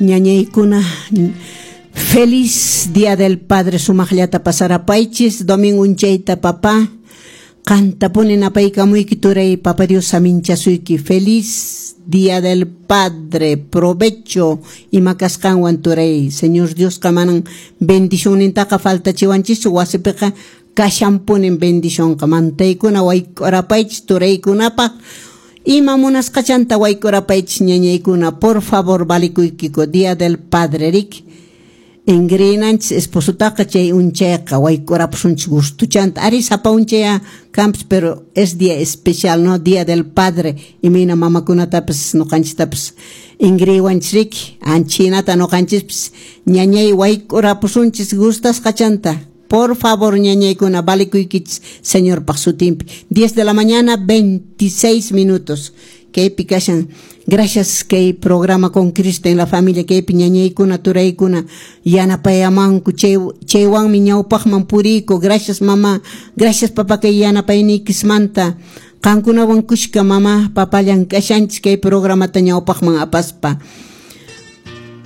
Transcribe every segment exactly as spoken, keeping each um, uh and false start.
Ñañaykuna, feliz Día del Padre, sumaqllata pasarapaychis domingo unchayta, papá. Qantapuni napaykamuyki, turay, Papa Dios saminchasuyki. Feliz Día del Padre, provecho ima kasqanwan, turay. Señor Diosqa manan bendicionnintaqa faltachiwanchischu, wasipiqa kashanpunin bendicionqa. Mantaykuna wayk'urapaychis turaykunapaq, ima munasqachanta wayk'urapaychis, ñañaykuna, por favor, valikuykiku. Día del Padre, rik, ingrinanchis esposotaqa chay unchayqa wayk'urapusunchis gustuchanta. Ari, sapa unchaya kanpis, pero es día especial, no? Día del Padre, imayna mamakunatapas nuqanchistapas ingriwanchis, riki, anchinata nuqanchispis, ñañay, wayk'urapusunchis gustasqachanta. Por favor, ñañaykuna, valikuykichis Señorpaq sutinpi. diez de la mañana, veintiséis minutos. Kaypi kashan. Gracias kay programa Con Cristo en la Familia, kaypi ñañaykuna, turaykuna yanapayamanku, chay chaywanmi ñawpaqman puriyku. Gracias, mamá, gracias, papá, kay yanapayniykismanta. Qankunawan kushka mamá, papá llank'ashanchis kay programata ñawpaqman apaspa.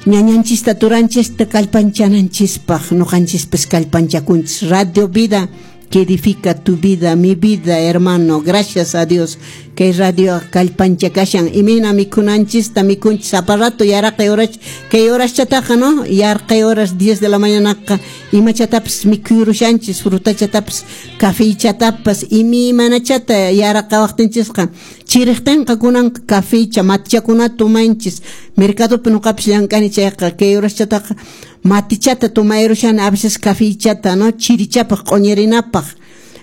Ñañanchista, turanchista kallpanchananchispaq nuqanchispis kallpanchakunchis. Radio Vida, que edifica tu vida, mi vida, hermano. Gracias a Dios que radio kallpanchakashan. Imayna mikhunanchista mikhunchis sapa rato yaraqay horas, kay horaschataqa, no? Yarqay horas, diez de la mañanaqa imachatapis mikhuyurushanchis, frutachatapas, cafeychatapas, imaymanachata yaraqawaqtinchisqa. Chiriqtinqa kunanqa cafeycha, matichakunata tomanchis. Mercadopi nuqapis llank'ani chayqa kay horaschataqa matichata tomayrushani, a veces cafeychata, no? Chirichapaq, q'uñirinapaq.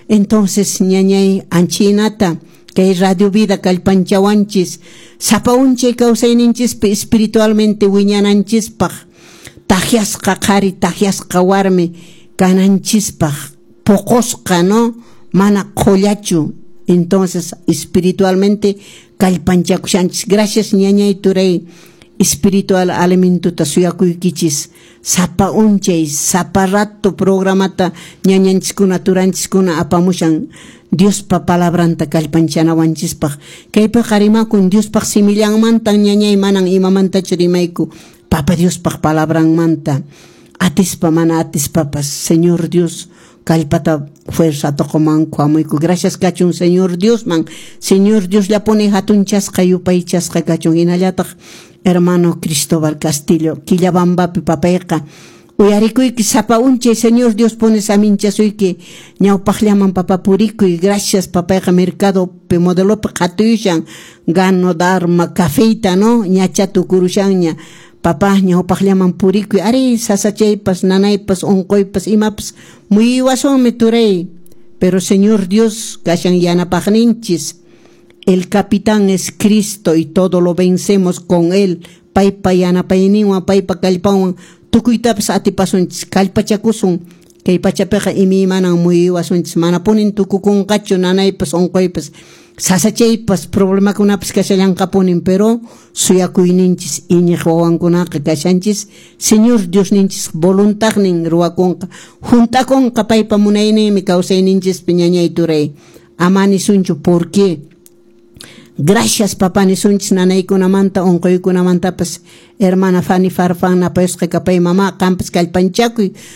Entonces, ñañay, anchinata kay Radio Vida kallpanchawanchis sapa unchay kawsayninchispi espiritualmente wiñananchispaq, takyasqa qhari, takyasqa warmi kananchispaq, puqusqa, no? Mana qhullachu. Entonces espiritualmente kallpanchakushanchis. Gracias, ñañay, turay, espiritual alimentuta suyakuykichis sapa unchay, sapa rato programata ñañanchiskuna, turanchiskuna apamushan Diospa palabranta kallpanchanawanchispaq. Kaypiqa rimakun Diospaq simillanmantan, ñañay, manan imamantachu rimayku, Papa Diospaq palabranmanta. Atispa mana atispapas Señor Dios kallpata, fuerza qumanku hamuyku. Gracias kachun Señor Diosman. Señor Dios llapuni hatunchasqa, yupaychasqa kachun. Hinallataq hermano Cristóbal Castillo Quillabambapi, papayqa, uyarikuyki sapa unchay. Señor Dios pone saminchasuyki, ñawpaqllaman, papa, purikuy. Gracias, papayqa mercadopi Modelopi qhatuyushan gano dharma cafeyta, no? Ñacha tukurushanña. Papá, ñawpaqllaman purikuy. Ari, sasachaypas, nanaypas, unquypas, imapas muyuwasunmi, turay, pero Señor Dios kashan yanapaqninchis. El capitán es Cristo y todo lo vencemos con él. Paypa yanapayninwan, paypa kallpanwan tukuytapas atipasunchis. Kallpachakusun. Kay pachapiqa imaymanan muyuwasunchis, manapunin tukukunqachu nanaypas, unquypas, sasachaypas, problemakunapas kashallanqapunin, pero suyakuyninchis iñiq wawankunaqa kashanchis Señor Diosninchis voluntadnin ruwakunqa, hunt'akunqa paypa munayninmi kawsayninchispi. Ñañay, turay, ama nisunchu "¿Por qué?" Gracias, papá, nisunchis nanaykunamanta, unquykunamantapas. Hermana Fanny Farfán napayusqa kapay, mamá, qampas kallpanchakuy.